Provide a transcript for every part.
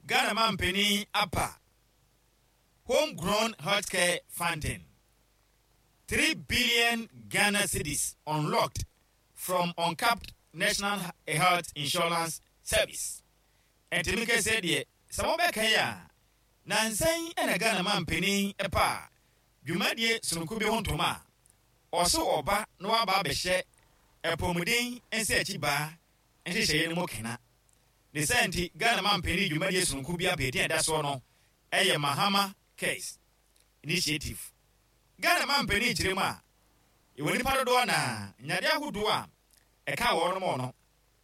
Ghana mampanin apa Homegrown Healthcare Funding, 3 billion Ghana cedis unlocked from uncapped National Health Insurance Service. Ɛnti me kɛseɛ deɛ, sɛ mobɛkae a, nansa yi na Ghana mampanin paa dwumadie sononko bi ho ntoma a, ɔse ɔba na waba abɛhyɛ apɔmuden nsakyibaa nhyehyɛeɛ no mu kena. Ne saa nti, Ghana mampanin dwumadie sononko bi aba edin a ɛda soɔ no yɛ Mahama Cares Initiative. Ghana mampanin kyerɛ mu a, yɛwɔ nnipa dodoɔ na nyadeɛ ahodoɔ a ɛka wɔnom no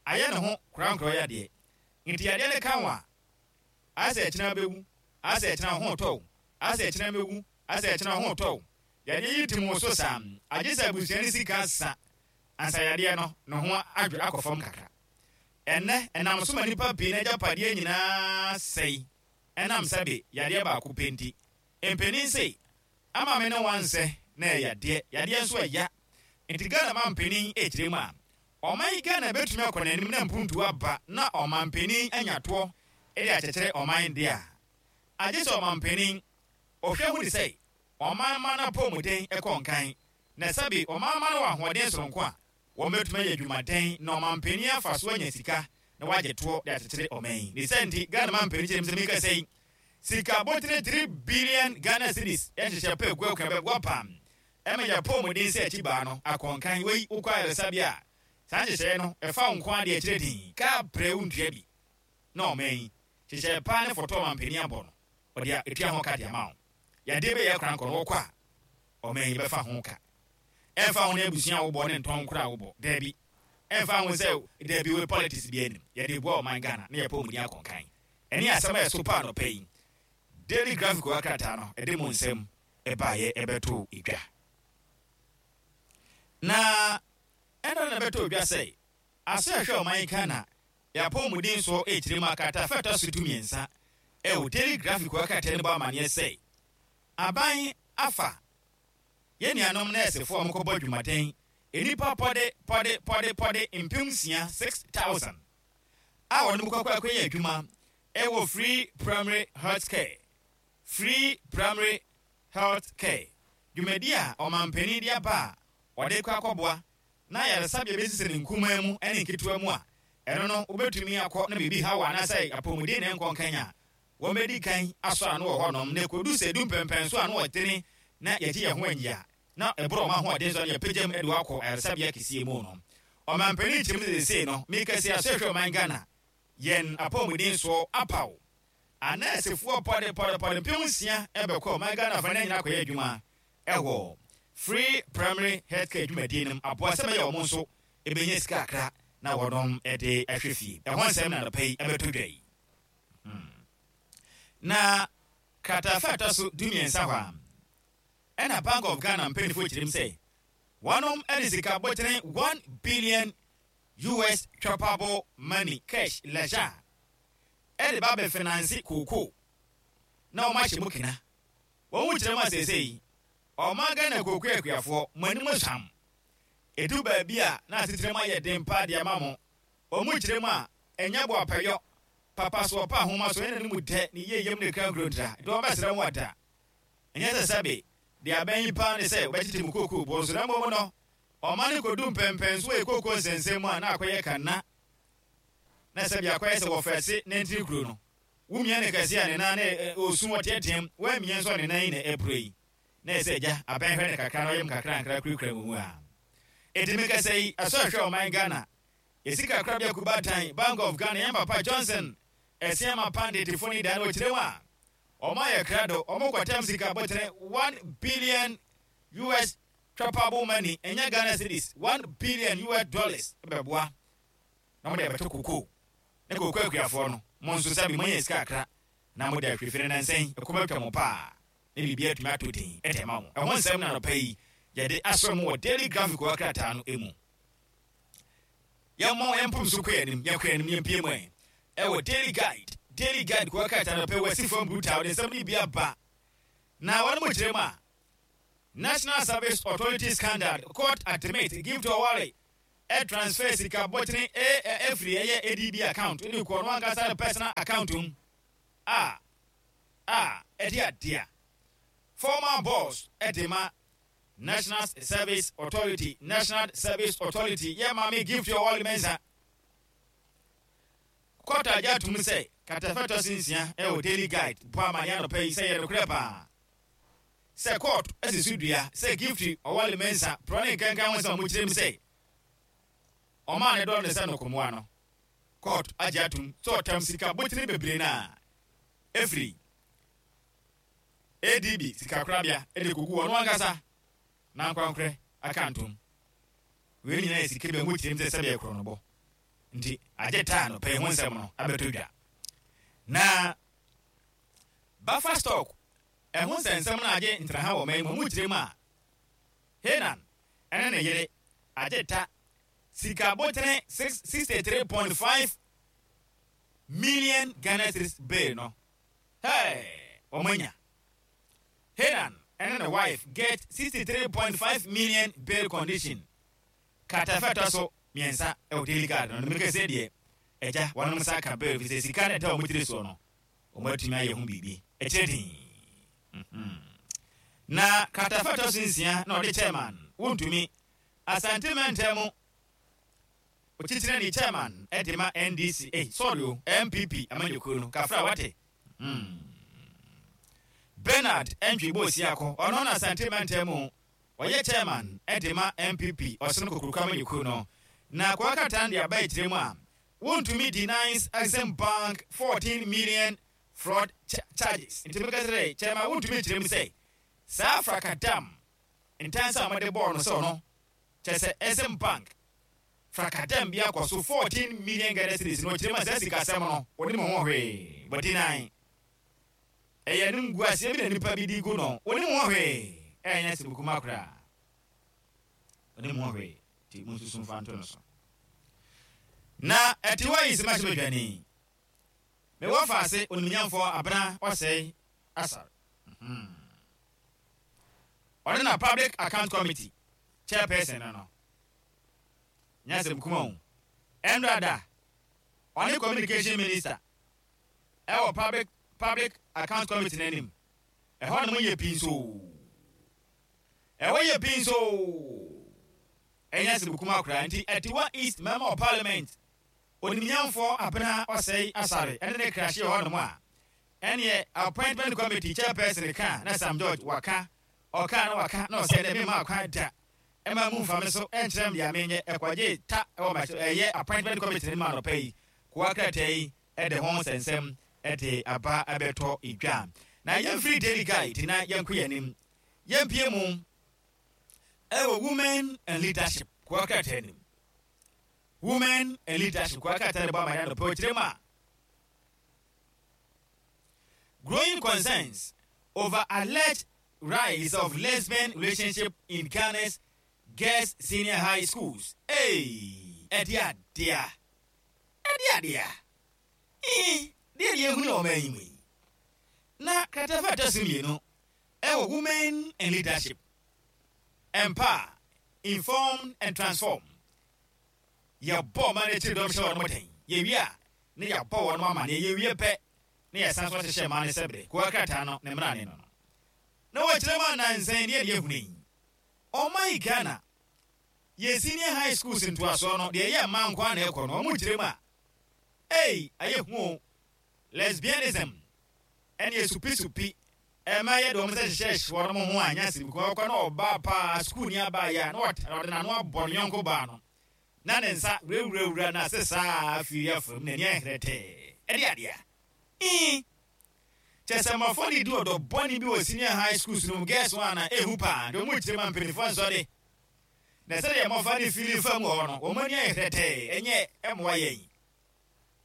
ayɛ ne ho korankorɔ yadeɛ. Nti yadeɛ no ka wo a, ayɛ sɛ ɛkyena wobɛwu, ayɛ sɛ ɛkyena wo ho retɔ wo, ayɛ sɛ ɛkyena mɛwu, ayɛ sɛ ɛkyena wo ho retɔ wo. Yadeɛ yi tim wo so saa, agye sɛ abusua no sika sa ansa yadeɛ no ne ho adwo akɔ fam kakra. Ɛnnɛ, ɛnam so ma nnipa pii no agyapadeɛ nyinaa sɛe ɛnam sɛbe yadeɛ baako pɛ nti. Mpanin se, ama me ne wo ansɛ na ɛyɛ yadeɛ, yadeɛ nso ɛya. Nti Ghana mampanin rekyerɛ mu a, ɔman yi Ghana bɛtumi akɔ n'anim na mpuntuo aba na ɔmanpanin anya toɔ de akyekyere ɔman deɛ a, agye sɛ ɔmanpanin ɔhwɛ hunu sɛ ɔman mma no apɔwmuden kɔ nkan na sɛbe ɔman mma no wɔ ahoɔden sononko a wɔbɛtumi ayɛ adwumaden na ɔmanpanin afa so anya sika na wagye toɔ de akyekyere ɔman yi. Ne saa nti, Ghana manpanin kyerɛ mu sɛ mekasa yi, sika botene 3 billion Ghana cedis yɛ nhyehyɛ pa egu akwan bɛboa pam ɛma yɛ apɔwmuden sɛ akyi baa no akɔ nkan. Wei wokɔ ayaresabea a, saa nhyehyɛeɛ no ɛfa wo nko ara deɛ ɛkyerɛ din kaa prɛ wontua bi na ɔman yi nhyehyɛeɛ paa ne fɔtɔ ɔmanpanin abɔ no ɔde atua ho ka de ama wo. Yadeɛ bɛyɛ korankɔ no wɔkɔ a ɔman yi bɛfa ho ka. Ɛmfa ho ne abusua a wobɔ ne ntɔn koro a wobɔ. Daabi. Ɛmfa ho sɛ daabi wei politics biara nnim. Yɛde boa ɔman Ghana na yɛpɛ ɔmudin akɔnkan. Ɛne asɛm a ɛso pa anɔpa yi. Daily Graphic wɔ krataa no ɛde mu nsɛm ɛbaeɛ ɛbɛtoo dwa. Na ɛna na ɛbɛtoo dwa sɛ aso ɛhwɛ ɔman Ghana yɛapɔmuden soɔ ɛkyerɛ mu a krataa fɛ ɛtɔ so 13 ɛwɔ Daily Graphic wɔ krataa no bɔ amaneɛ sɛ aban afa Yɛn nuanom nɛɛsefo a wɔkɔbɔ adwumaden, nnipa pɔde pɔde pɔde pɔde 6000, 6,000, a wɔne mo kɔkɔ akɔyɛ adwuma wɔ Free Primary Health Care, Free Primary Health Care, dwumadi a ɔmanpanin de aba a wɔde kɔ akɔboa na ayaresabea besisi no nkumaa mu ne nketewa mu a ɛno no wobetumi akɔ na biribi haw anaasɛ apɔwmuden na ɛnkɔ nkan a Wɔbɛdi kan asɔ ano wɔ hɔnom, na ɛkɔdu sɛ ɛdu mpɛnpɛnso a ano ɔdene na yɛgye yɛn ho anyi a, na ɛboro wɔn ahoɔden so a na yɛpagya mu de wɔn akɔ ayaresabea kɛseɛ mu no. Ɔmanpanin kyerɛ mu sɛ seesei no, meka sei, Asɔhwɛ Ɔman Ghana, yɛn apɔwmuden soɔ apaw anɛɛsefoɔ pɔde pɔde pɔde 6000 bɛkɔ ɔman Ghana afa no nyinaa akɔyɛ adwuma wɔ Free Primary Health Care dwumadie no mu aboa sɛ bɛyɛ wɔn nso bɛnya sika kakra na wɔnom de ahwɛ fie. Ɛho nsɛm na anɔpa yi ɛbɛtɔ dwa yi. Hmm. Na kratafa a ɛtɔ so 13 hɔ a, ɛna Bank of Ghana mpanyinfoɔ kyerɛm sɛ wɔnom de sika botene 1 billion US choppable money cash leisure ɛde ba bɛfinanse kookoo na wɔn ahyɛ mu kena. Wɔn mu kyerɛ mu a seesei ɔman Ghana kookoo akuafoɔ mo anim hwam. Edu baabi a na asetena mu ayɛ den paa de ama mo. Wɔn mu kyerɛ mu a, ɛnyɛ boapayɔ, papa so ɔpa ahoma so ɛna ne mu dɛ, ne yie yam ne kra nkurontira, nti wɔbɛsrɛ mo ada. Ɛnyɛ sɛ sɛbe, deɛ abɛn yi paa ne sɛ wɔbɛkyekye mo kookoo boɔ so, na mmom no, ɔman no kɔdu mpɛnpɛnso wɔ kookoo nsɛnsɛm mu a na akɔyɛ kanna, na sɛbe akɔyɛ sɛ wɔfɛse nantini kuro no. Womia no kɛse a ne nan na ɔsu ɔteateam, woammia nso a ne nan yi na ɛpuro yi. Na ɛsɛ agya abɛn hwɛ no kakra na ɔyam nkakrankra kurakura mu a. Enti mekasa yi, ɛsɔ ɛhwɛ ɔman Ghana Yɛ sika korabea Kubatan, Bank of Ghana, yɛn papa Johnson Asiamah Panditfo ne da no ɔkyerɛ mu a, wɔn ayɛ krado, wɔn kɔtɛm sika botene 1 billion US twapable money, ɛnyɛ Ghana cedis, 1 billion US dollars bɛboa na wɔde abɛtɔ kokoo ne kokoo akuafoɔ no, mo nso sɛbe moanya sika kakra na mode ahwɛ fie no nansa yi ɛkɔm atwa mo paa na biribi atumi atɔ din de ama mo. Ɛho nsɛm na anɔpa yi yɛde asɔ mo wɔ Daily Graphic krataa no mu. Yɛmmɔ yɛn mpom so kɔ yɛn anim, yɛkɔ yɛn anim, yɛmpie mu ɛ. Ɛwɔ Daily Guide, Daily Guide kɔ krataa no pɛ wɔ fam brutal de nsɛm no bi aba. Na wɔn mo kyerɛ mu a, National Service Authority scandal, court admit give to Oware ɛ transfer sika bɔtene ɛ ɛfiri ɛyɛ ADB account de kɔ no ankasa ne personal account mu. a a ɛde adea former boss de ma National Service Authority National Service Authority yɛ Maame Gift Ɔwɔle Mensah. Kɔɔto agye atom sɛ kratafa ɛtɔ so nsia wɔ Daily Guide bɔ amanneɛ anɔpa yi sɛ ɛyɛ nokorɛ paa sɛ kɔɔto asi so dua sɛ Gift Ɔwɔle Mensah porɔ ne nkankan ho nsɛm a wɔkyerɛ mu sɛ ɔmaa ne dɔ no sɛ nnokomoa no. Kɔɔto agye atom sɛ ɔtam sika botene bebree no a ɛfiri ADB sikakorabea de kɔgu ɔno ankasa n'ankorankorɛ akantom. Wei nyinaa yɛ sika bi a wɔkyerɛ mu sɛ sɛdeɛ korɔnobɔ nti agye taa no pɛi ho nsɛm no abɛtɔ dwa. Na buffer stock ɛho nsɛnsɛm no agye ntraha wɔ ɔman mu, wɔkyerɛ mu a Henan ɛne ne yere agye ta sika botene 63.5 million Ghana cedis bail no. Hey, wɔn anya. Henan ɛne ne wife get 63.5 million bail condition. Kratafa ɛtɔ so mmiɛnsa ɛwɔ Daily Guard no, no meka sɛ deɛ agya wɔnom nsa aka bail fi sɛ sika no ɛda wɔn tiri soɔ no, wɔn atumi ayɛ ho biribi. Ɛkyerɛ din. Na kratafa ɛtɔ so nsia na ɔde chairman wontumi Asante mantam mu otitenani chairman de ma NDC, eh, sorry o, NPP amanyɔkuo no, kafra wate. Hmm. Bernard Antwi Bosiako, ɔno na Asante mantam mu ɔyɛ chairman de ma NPP ɔsono kokuroko amanyɔkuo no. Na Kwaa Katan de aba akyire mu a, wontumi denies Exim Bank 14 million fraud charges. Nti meka sɛ chairman wontumi kyerɛ mu sɛ saa frakadam ntansa a wɔde bɔɔ no sɛ ɔno kyerɛ sɛ Exim Bank frakadam bi akɔ so 14 million Ghana cedis no, ɔkyerɛ mu a saa sikasɛm no ɔnim ho hwee, wadi nan. Ɛyɛ animguaseɛ bi na nipa bi de gu no, ɔnim ho hwee, ɛnyɛ asɛm kuma koraa. Ɔnim ho hwee, nti monsusu mfa nto no so. Na ɛte hɔ yi sɛ mahyɛ badwani. Mewɔ faase onimnyamfoɔ Abena Ɔsɛe Asare. Hmm. Ɔno na Public Account Committee chairperson no no. Nyɛ asɛm kuma o. Ɛnora da, ɔne Communication Minister ɛwɔ Public Public Account Committee no anim. Ɛhɔ nom yɛ pinsoo. Ɛhɔ yɛ pinsoo. Ɛnyɛ asɛm kuma koraa. Nti Atiwa East Member of Parliament Onimnyamfoɔ Abena Osei Asare ɛne ne krahye wɔ hɔ nom a, ɛneɛ Appointment Committee Chairperson ka na Sam George waka, ɔkaa na waka na ɔsɛ dɛ memma kwan da mma mu mfa me so nkyerɛ me deɛ menyɛ, ɛkɔgyee ta wɔ ma ɛyɛ Appointment Committee no mu anɔpa yi, kowa krataa yi de ho nsɛnsɛm de aba abɛtɔ dwa. Na yɛmfiri Daily Guide na yɛnkɔ yɛn anim, yɛmpue mu ɛwɔ Women and Leadership kowa krataa no mu. Women and Leadership kowa krataa no bɔ amanneɛ anɔpa yi, ɔkyerɛ mu a, Growing concerns over alleged rise of lesbian relationship in Ghana's girls senior high schools. Hey, ɛde adea. Ɛde adea. Ee, deɛ deɛ ehunu wɔ ɔman yi mu yi. Na kratafa ɛtɔ so mmienu ɛwɔ Women and Leadership. Empower, Inform and Transform. Yɛbɔ ɔman no akyiri dɔm hyɛ wɔn den. Yɛwie a, na yɛabɔ wɔn amanneɛ. Yɛwie pɛ, na yɛsan nso ahyehyɛ mmaa no sɛ bere. Kowa krataa no, ne mmara ne no no. Na wɔkyerɛ mu nnansa yi, deɛ deɛ hunu yi. Ɔman yi Ghana, yɛn senior high schools ntoasoɔ no, deɛ ɛyɛ mmaa nko ara na ɛkɔ no, wɔn kyerɛ mu a, ei, ayɛ hu o. Lesbianism, ɛne asupisupi, ɛma yɛde wɔn nsa hyehyɛ wɔn ho a, ɛnyɛ asɛm kumaa. Wɔkɔ na ɔbaa paa, sukuuni abaayewa, na ɔde n'ano abɔ ne yɔnko baa no, na ne nsa wurawurawura n'ase saa afiri afam, n'ani ayɛ hɛrɛtɛɛ. Ɛde adeɛ a. Ii. Kyɛ sɛ mmɔfra no redi ɔdɔ bɔne bi wɔ senior high schools no mu, girls one a, ehu paa, nti wɔn kyerɛ ma mpanimfoɔ nsɔ de. Na sɛdeɛ mmɔfra no fili fam wɔ hɔ no, wɔn ani ayɛ hɛrɛtɛɛ, ɛnyɛ ɛmmoa yɛn.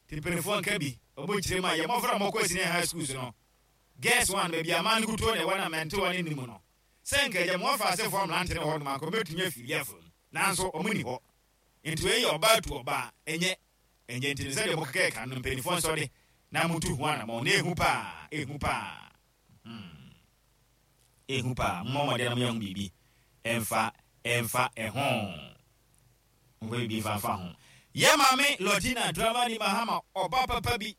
Nti mpanimfoɔ nka bi, wɔn kyerɛ ma yɛn mmɔfra a wɔkɔ senior high schools no, girls one, baabi a mmaa no kutuo na ɛwɔ na mmerantewa no nni mu no, sɛ nka agya mmɔfra asefoɔ mmerante no wɔ hɔ nom anka wɔbɛtumi afiri afam, nanso wɔn nni hɔ. Nti wei yɛ ɔbaa tu ɔbaa, ɛnyɛ Ɛnyɛ nti no sɛdeɛ mokeka ɛka no mpaninfoɔ nsɔre na montu ho anamɔn na ɛhu paa, ɛhu paa, hmm, ɛhu paa, mommɔ mmɔden na monyɛ ho biribi ɛmfa ɛmfa ɛho, momfa biribi mfa mfa ho. Yɛ maame Lordina Dramani Mahama ɔba papa bi.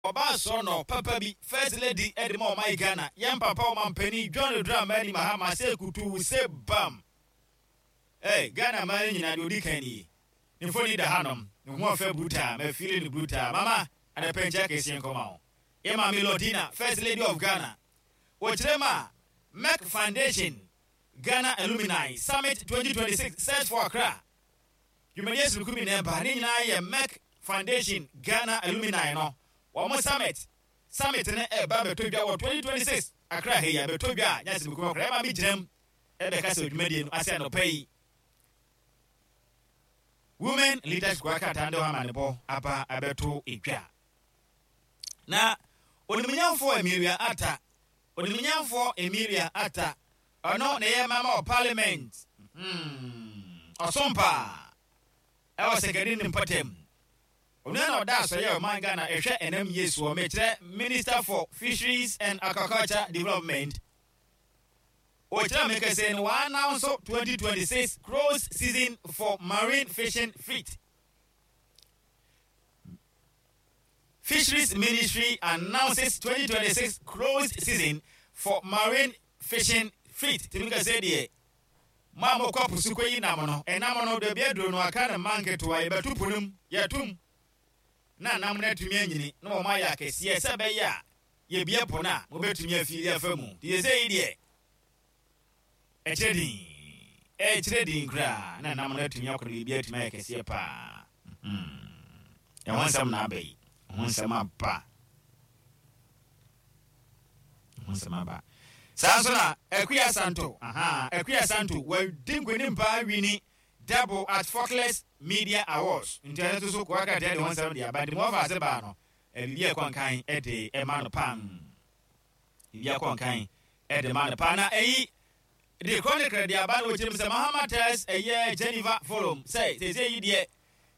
Ɔbaa sɔɔnɔ papa bi, First Lady de ma ɔman Ghana, yɛn papa Ɔmanpanin John Dramani Mahama sɛ kutuu sɛ bam! Hey, Ghana man no nyinaa deɛ ɔdi kan nie. Ne mfoni da hanom, ne ho ɔfɛ brutaa, mafeeli no brutaa. Mama, anɔpa nkyia kɛseɛ nkɔma wo. Yɛn maame Lordina, First Lady of Ghana. Wɔkyerɛ mu a, Merck Foundation Ghana Alumni Summit 2026 Search for Accra Dwumadie sononko bi na ɛba. Ne nyinaa yɛ Merck Foundation Ghana Alumni no wɔn summit. Summit no ɛba bɛtɔ dwa wɔ 2026 Accra ha yi a bɛtɔ dwa a nyɛ asɛm kuma koraa. Ɛma me gyina mu ɛbɛka sɛ dwumadie no ase anɔpa yi. Women Leadership Kwa krataa no de hɔ amanebɔ aba abɛto dwa. Na Onimunyamfoɔ Emilia Atta, Onimunyamfoɔ Emilia Atta, ɔno na ɛyɛ Member of Parliament, hmm, ɔsom paa ɛwɔ Sɛkɛdi ne mpɔtam. Ɔno na ɔda asɔyɛ ɔman Ghana ɛhwɛ ɛnam yie soɔ, mekyerɛ Minister for Fisheries and Aquaculture Development. Ɔkyerɛ me kɛse no wɔannounce 2026 close season for marine fishing fleet. Fisheries Ministry announces 2026 closed season for marine fishing fleet. Tumi ka sɛ deɛ mo a mokɔ po so kɔyi nam no, ɛnam no baabi aduro no aka no mma nketewa, yɛbɛto po no mu, yɛtom na nam no atumi anyini na wɔn ayɛ akɛseɛ sɛ ɛbɛyɛ a yɛbie po no a mobɛtumi afiri afa mu. Nti sɛ yi deɛ Ɛkyerɛ din. Ɛkyerɛ din koraa na nam no atumi akɔ no biribi atumi ayɛ kɛseɛ paa. Hmm. Ɛho nsɛm na aba yi. Ɛho nsɛm aba. Ɛho nsɛm aba. Saa nso na Akua Santo, aha, Akua Santo, wadi nkonim paa wini double at Folkless Media Awards. Nti ɛno nso so koa krataa de ho nsɛm de aba. Nti mo ɔfa ase baa no, biribi a ɛkɔ nkan de ɛma no pam. Biribi akɔ nkan de ma no paa. Na eyi de Chronicle de aba na wɔkyerɛ mu sɛ Mahama tells ɛyɛ Geneva Forum sɛ seesei yi deɛ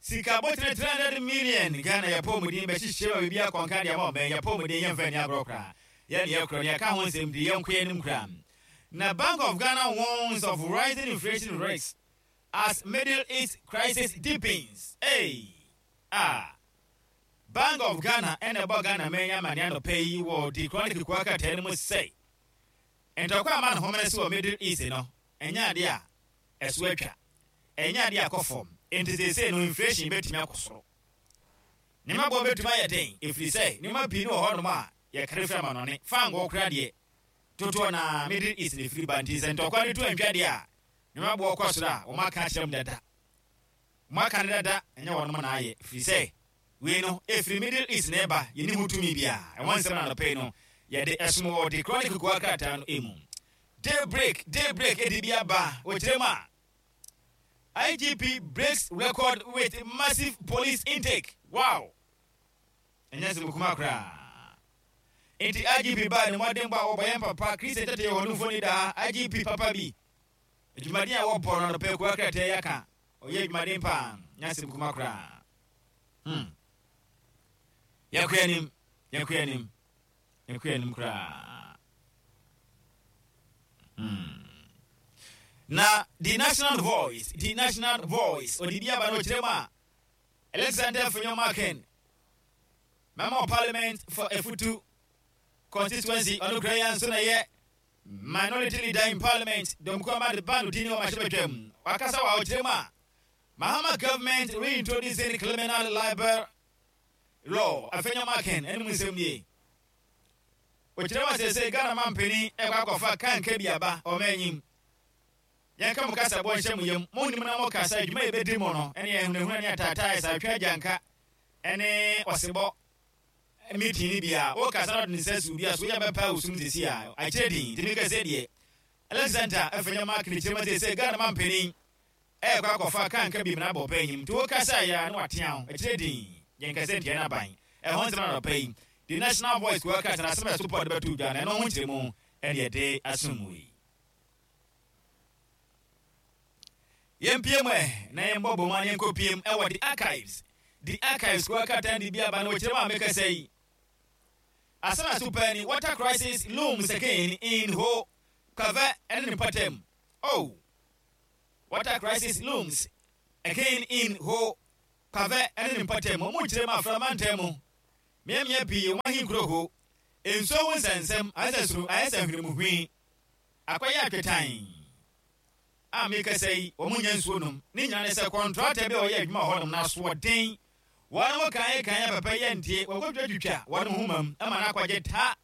sika botire 300 million Ghana yɛ pɔmuden bɛhyehyɛ ma biribi akɔ nkan de ama ɔman yɛ pɔmuden yɛmfa nni agorɔ koraa yɛ ne yɛkorɔ ne yɛka ho nsɛm de yɛnkɔ anim koraa. Na Bank of Ghana warns of rising inflation risks as Middle East crisis deepens. Hey! Ah! Bank of Ghana na ɛbɔ Ghana man yi amanneɛ anɔpa yi wɔ The Chronicle kuwa krataa no mu sɛ, ntɔkwa a ama ne homene so wɔ Middle East no, ɛnyɛ ade a ɛso atwa, ɛnyɛ ade a ɛkɔ fam, enti seesei no inflation betumi akɔ soro. Nneɛma boɔ betumi ayɛ den, ɛfiri sɛ nneɛma pii no wɔ hɔnom a yɛkari firi amanɔne, fangoo koraa deɛ, dodoɔ no ara Middle East na ɛfiri ba, nti sɛ ntɔkwa no tu antwa deɛ a, nneɛma boɔ kɔ soro a, wɔaka akyerɛ mu dada. Wɔaka no dada, ɛnyɛ wɔnom na ayɛ, ɛfiri sɛ wei no ɛfiri Middle East na ɛba, yɛnni ho tumi biara. Ɛho nsɛm na anɔpa yi no yɛde ɛsom wɔ The Chronicle Kowa krataa no mu. Daybreak, Daybreak ɛde bi aba, wɔkyerɛ mu a, IGP breaks record with massive police intake. Wow! Ɛnyɛ asɛm kumaa koraa. Enti IGP baa ne mmɔdenbɔ a wɔbɔ yɛn papa Christian Tete yɛ hɔ no mfoni daa IGP papa bi. Adwumaden a wɔbɔ no anɔpa akuwa krataa yi aka. Ɔyɛ adwumaden paa, nyɛ asɛm kuma koraa. Hmm. Yɛkɔ anim, yɛkɔ anim, yɛkɔ anim koraa. Hmm. Na the National Voice, the National Voice, ɔde bi aba no ɔkyerɛ mu a, Alexander Afenyo-Markin, Member of Parliament for Efutu constituency, ɔno kura yi nso na ɛyɛ Minority Leader in Parliament, Dɔmkuo Ahmad Bano din wɔ mmarahyɛbadwam. Wakasa wɔ ahokyerɛ mu a Mahama government reintroducing criminal libel law. Afenyo-Markin anom nsɛm nie. Ɔkyerɛ mu a seesei Ghana mampanin ɛkɔ akɔfa kanka bi aba ɔman enyim. Yɛnka mo kasabɔ nhyɛ mo yam. Monnim na mokasa, dwuma a yɛbɛdi mo no ne ahunahuna ne ataataa, ɛsaatwe agyanka ne ɔsebɔ meeting no bi a, wokasa na ɔde ne nsa si wo dua so, woyɛ bɛpɛ wo sum sesi a, akyerɛ din. Nti meka sɛ deɛ Alexander Afenyo Mark ne kyerɛ mu sɛ Ghana mampanin ɛrekɔ akɔfa kanka bi mmara bɔ pɛ enyim. Nti wokasa yɛ a na watea ho, akyerɛ din. Yɛnkasa ntia n'aban. Ɛho nsɛm na anɔpa yi, The National Voice kuo krataa no asɛm a ɛso pɔ de bɛto dwa no, ɛno ho nkyerɛmu ɛne yɛde asom mu yi. Yɛmpue mu ɛ, na yɛmbɔ bɔ mu a na yɛnkɔpue mu ɛwɔ The Archives. The Archives kuo krataa de bi aba na wɔkyerɛ mu a mekasa yi. Asɛm a ɛso paa ni, Water crisis looms again in Ho, Kave ɛne ne mpɔtam. Oh! Water crisis looms again in Ho, Kave ɛne ne mpɔtam. Wɔn kyerɛ mu Afra mantam mu. Mmeammea pii wɔn ahenkuro ho nsuo ho nsɛnsɛm ayɛ sɛ soro ayɛ sɛ hwenemuhwi akɔyɛ atwetan a mekasa yi wɔn nnya nsuo nom. Ne nyinaa ne sɛ kɔntrata bi a ɔyɛ adwuma wɔ hɔnom no asoɔden. Wɔn kan kan a papa yi antie, wɔkɔtwitwatwitwa wɔn nhoma mu ma no akɔgye ta.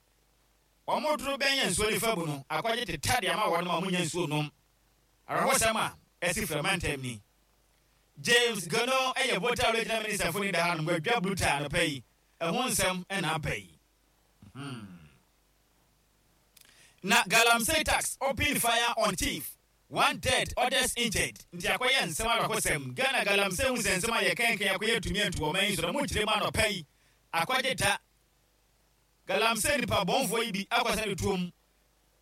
Wɔn doro bɛn yɛ nsuo no fa bu no akɔgye teta de ama wɔn ma wɔn nnya nsuo nom. Awerɛhosɛm a asi Frɛ mantam ni. James Gono yɛ Volta Regional Minister fo ni da hanom wadwa brutal anɔpa yi. Ɛho nsɛm na aba yi. Hmm. Na Galamsey tax open fire on chief, one dead, others injured. Nti akɔyɛ nsɛm awerɛhosɛm. Ghana Galamsey ho nsɛnsɛm a yɛkɛnkɛn akɔyɛ tumi antu ɔman yi so na mo nkyerɛ mu anɔpa yi. Akɔgye ta. Galamsey nipa bɔnfoɔ yi bi akɔsa ne tuom.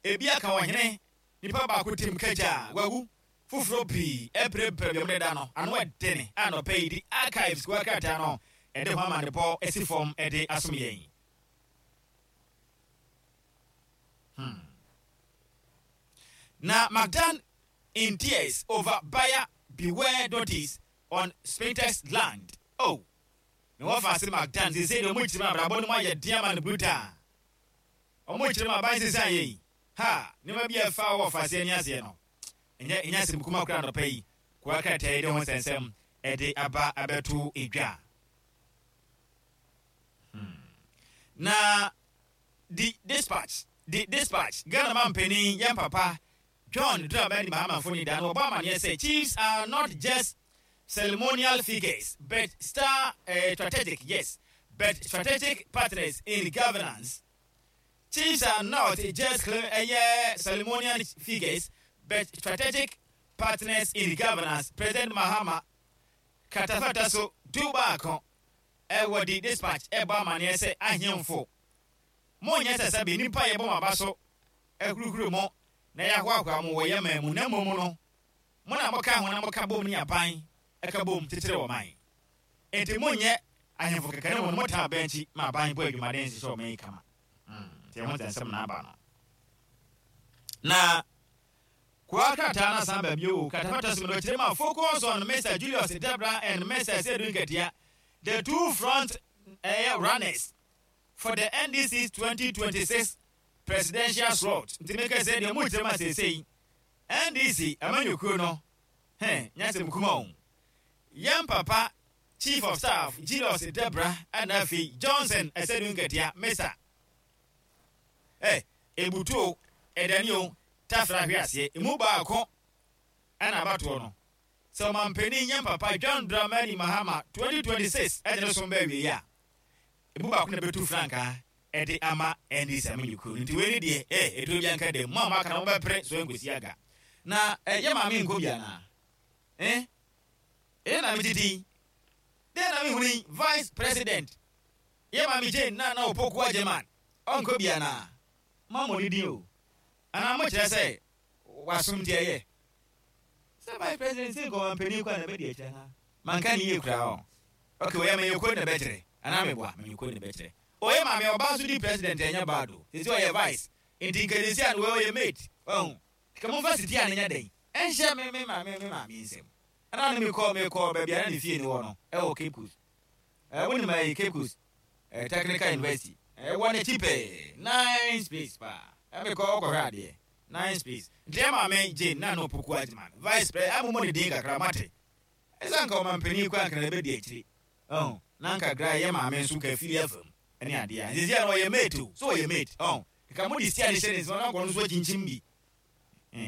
Ebi aka ɔhene, nipa baako tim kagya, wawu. Foforɔ pii apirapira deɛ wɔde da no ano ɛdene a anɔpa yi di Archives kuo krataa no ɛde ho amanebɔ asi fam de asom yɛn. Hmm. Na McDan in tears over buyer beware notice on Spintex land. Oh, na wɔfa ase McDan sese deɛ wɔn kyerɛ mu abrabɔ no mu ayɛ den ama no brutal. Wɔn kyerɛ mu aban sese ayɛ yi. Ha, nneɛma bi a ɛfa wɔ ɔfa aseɛ ne aseɛ no. Ɛnyɛ ɛnyɛ asɛm kuma koraa anɔpa yi. Kowa krataa yi de ho nsɛnsɛm ɛde aba abɛto edwa. Hmm. Na The Dispatch, The Dispatch, Ghana mampanin yɛn papa John Dramani Mahama mfoni da no wɔbɔ amaneɛ sɛ chiefs are not just ceremonial figures but star uh, strategic yes but strategic partners in governance. Chiefs are not just uh, ceremonial figures but strategic partners in governance. President Mahama katafata so du baako ɛwɔ The Dispatch ɛbɔ amaneɛ sɛ ahemfo monyɛ sɛ sɛbe nnipa yɛbɔ mo aba so ahurihuri mo na yɛahoahoa mo wɔ yɛn man mu na mmom no mo na moka ho na moka bom ne aban ɛka bom kyekyere wɔ man enti monyɛ ahemfo kɛkɛ ne mo no motena aban akyi ma aban bɔ adwumaden hyehyɛ ɔman yi kama. Nti ɛho nsɛnsɛm na aba no na Koa krataa no asan ba bio. Katapata so no kyerɛ mu a focus on Mr. Julius Debra and Mr. Sedu Nketia, the two front runners for the NDC's 2026 presidential slot. Nti meka sɛ deɛ mu kyerɛ mu a seesei NDC amanyɔkuo no hɛn nyasɛm kuma o. Yɛn papa Chief of Staff Julius Debra ɛna afei Johnson Asiedu Nketia Mr. Ebutu o, ɛdani o, tafra hwe aseɛ emu baako ɛna abatoɔ no sɛ ɔmampanin yɛn papa John Dramani Mahama 2026 ɛde ne som bɛɛ wie a emu baako na bɛtu frankaa ɛde ama NDC amanyɔkuo no. Nti wei ne deɛ ɛduro bi anka dɛm mo a moaka no mobɛpere so ɛnkɔsi aga na yɛ maame nkɔ bi anaa ɛyɛ na megye din dɛn na mehunu yi vice president yɛ maame Jane na na Opoku Agyeman ɔnkɔ bi anaa moammɔ ne din o anaa mokyerɛ sɛ wasom nti ɛyɛ sɛ vice president sɛ nkɔma mpanin kɔ a na bɛdi akyirɛ anaa manka ne yie koraa ɔ ok ɔyɛ manyɛkuo na bɛkyerɛ anaa meboa manyɛkuo na bɛkyerɛ ɔyɛ maame ɔba nso di president ɛnyɛ bad o sɛsi ɔyɛ vice nti nkɛdesi a no ɔyɛ mate ɔho ka momfa siti a ne nyɛ dɛn ɛnhyɛ me me maame me maame nsɛm ɛna ne mekɔ mekɔ baabi a na ne fie ne wɔ no ɛwɔ Cape Coast. Wonim ɛyi Cape Coast Technical University ɛwɔ n'akyi pɛɛ nice place paa ɛmekɔ ɔkɔhwɛ adeɛ nice place nti ɛma me Jane na no Poku Agyeman vice president amomɔ ne din kakra mate ɛsɛ nka ɔma mpanin kɔ anka na ɛbɛdi akyiri ɔn na nka gra yɛ maame nso ka fili afam ɛne adeɛ a nsisi a na ɔyɛ mate o so ɔyɛ mate ɔn nka mo de si a ne hyɛ ne nsɛm na nkɔ no nso akyinkyim bi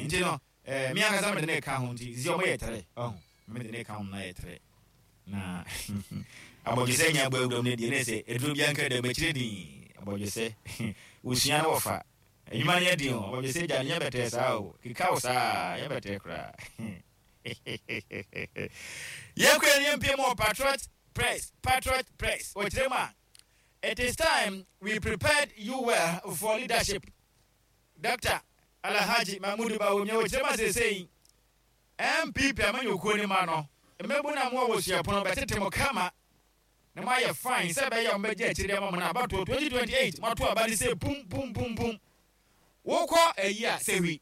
nti no me ankasa mede ne ka ho nti sisi ɔmo yɛ tere ɔho mede ne ka ho na yɛ tere na abɔdwesɛ nya bɔ awuram ne deɛ ne sɛ aduro bi anka dɛm akyire din abɔdwesɛ wosua no wɔfa adwuma no yɛ den o abɔdwesɛ gya no nyɛ bɛtɛɛ saa o keka wo saa yɛ bɛtɛɛ koraa. Yɛnkɔ yɛn yɛmpie mu wɔ Patriot Press. Patriot Press wɔkyerɛ mu a it is time we prepared you well for leadership. Dr. Alhaji Mahmudu Bawumia wɔkyerɛ mu a seesei NPP amanyɔkuo ne ma no mmɛbu na mo a wɔ suapono bɛtete mo kama na moayɛ fine sɛ ɛbɛyɛ a mobɛgye akyire de ama mo no abatoɔ 2028 moato aba no sɛ pum pum pum pum wokɔ ayi a sɛhwi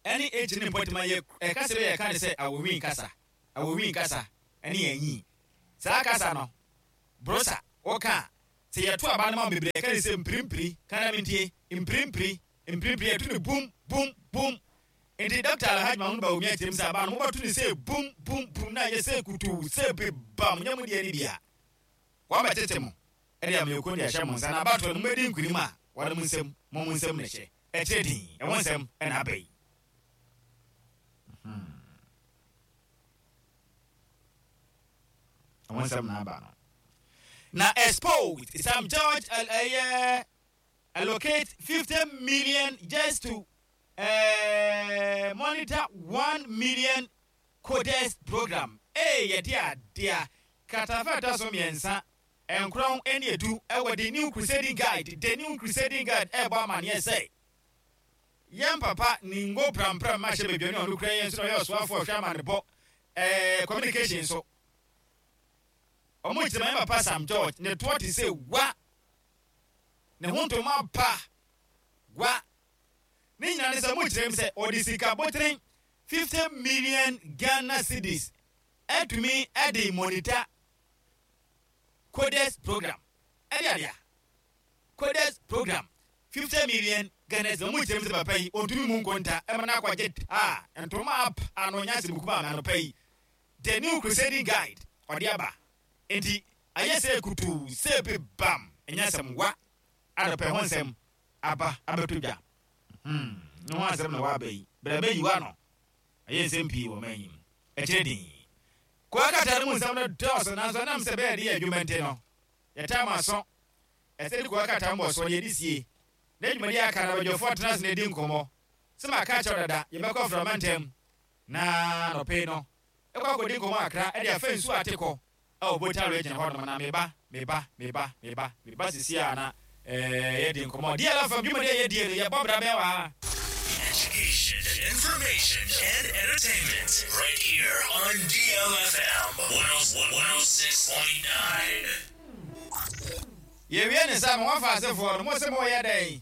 ɛne H ne mpɔtema yɛ ɛkasa bi a yɛka ne sɛ awowin kasa awowin kasa ɛne anyi saa kasa no brosa woka a. Sɛ yɛto aba no ma mo bebree a, yɛka ne sɛ mpirimpiri, ka na mentie, mpirimpiri, mpirimpiri, yɛto no bum, bum, bum. Nti Dɔkta Alhaji Mahmood Bawumia kyerɛ mu sɛ aba no mobɛto no sɛ bum, bum, bum na ayɛ sɛ kutuu, sɛ bebam, nyɛ mo deɛ no bi a, wɔabɛtete mo de amanyɔkuo no de ahyɛ mo nsa na abatoɔ no mobɛdi nkunim a, wɔde mo nsam, mo mo nsam na ɛhyɛ. Ɛkyerɛ din, ɛho nsɛm na aba yi. Hmm. Ɛho nsɛm na aba no. Na exposed Sam George ɛyɛ allocate 50 million just to uh, monitor 1 million coders program. Ee yɛde adeɛ kratafa ɛtɔ so mmiɛnsa nkorɔn ne edu ɛwɔ The New Crusading Guide. The New Crusading Guide ɛrebɔ amaneɛ sɛ yɛn papa Ningo Prampram mahyɛ badwani a ɔno kura yɛn nso na ɔyɛ ɔsoafoɔ ɔhwɛ amanebɔ ɛɛ communication so. Wɔn kyerɛ ma yɛn papa Sam George ne toɔ te sɛ gua, ne ho ntoma pa gua. Ne nyinaa ne sɛ wɔn kyerɛ mu sɛ ɔde sika botene 50 million Ghana cedis atumi de monitor coders program ɛde adeɛ coders program 50 million Ghana cedis. Wɔn kyerɛ mu sɛ papa yi ɔntumi mu nkonta ɛma no akɔgye taa ntoma apa ano nyɛ asɛm kuma ama anɔpa yi. The New Crusading Guide, ɔde aba. Enti, ayɛ sɛ kutuu, sɛ bi bam, ɛnyɛ asɛm wa, adɔpɛ ho nsɛm aba abɛtɔ dwa. Hmm, ne ho asɛm na waba yi. Bra bɛyi w'ano. Ayɛ nsɛm pii wɔ ɔman yi mu. Ɛkyerɛ din. Koa krataa no mu nsɛm no dɔɔso, nanso ɛnam sɛ ɛbɛyɛ de yɛ adwuma nti no, yɛtaa mo aso. Ɛsɛ de koa krataa mmɔsoɔ na yɛde sie. Na dwumadi a aka no, abadwafoɔ atena ase na adi nkɔmmɔ. Sɛ maka akyerɛ wo dada, yɛbɛkɔ mframa ntɛm. Na anɔpa yi no, ɛkɔ akɔdi nkɔmmɔ kakra de afa nsuo a ate kɔ wɔ Volta Region hɔnom na meba, meba, meba, meba, meba sisi a na eh, yɛdi nkɔmmɔ. DLFM dwumadi a yɛdie no, yɛbɔ bra bɛn wɔ ha. Education, information, and entertainment right here on DLFM 106.9. Yɛwie ne sa, mo afa asefoɔ no, mo se moyɛ dɛn?